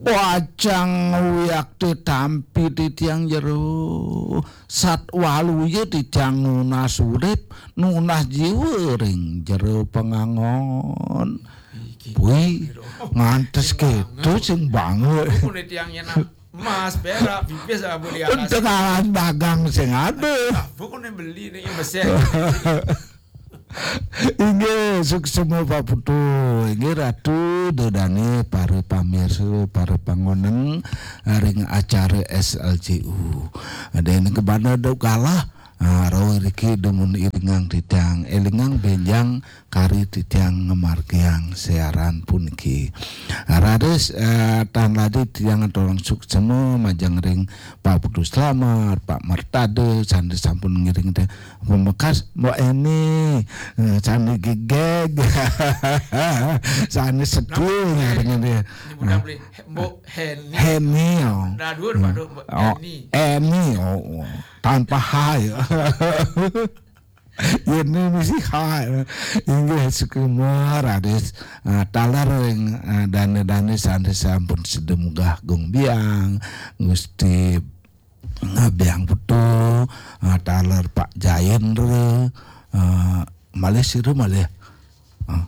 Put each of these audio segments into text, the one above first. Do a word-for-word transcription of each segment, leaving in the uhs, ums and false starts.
Pacang wiakti tampi titiang jero. Sat waluya titiang nunas urip, nunas jiwa ring jero pangangon. Wih, ngantos gitu sing banget. Pun tiang nyenak emas, perak, pipis, abu di atas. Tekalan dagang sing ada. Apa kok beli nih yang besar? Inggih, suksema Pak Putu. Inggih Ratu, Ida Dane, para pamirsa, para pangoneng ring acara S L C U. Dene kebana dok galah. Ah, rauh riki dumun iringang titiang, elingang benjang kari titiang ngamargiang siaran puniki. Raris, eh, tan ladi titiang aturang suksema majeng ring Pak Putu Slamet, Pak Mertade, sane sampun ngiring teh. Pemekas Mbok Eni, eh, sane gegeg, sane setia ngiring dia. Ini bukan beli Mbok Heni. Heni, oh. Nah, dua, dua, dua, Mbok Eni. Eni, oh, oh. Tanpa H ya. Ini mesti H. Inggih, suksema raris, eh, taler ring, eh, dane-dane sane sampun sida munggah gung biang, Gusti, eh, Biang Putu, eh, taler Pak Jayendra, eh, malih sira malih. Eh,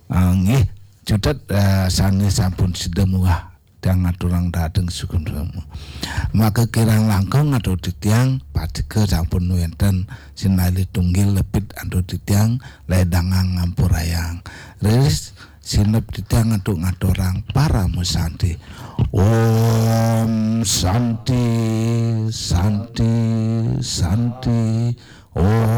eh, nggih, cutet, eh, sane sampun sida munggah tiang ngaturang dateng suksema. Maka kirang langkung atur titiang, patika sampun wenten sinalih tunggil lepit atur titiang, ledangang ngampurayang. Riris sinep titiang atur ngaturang parama santi. Om Santi, Santi, Santi. Om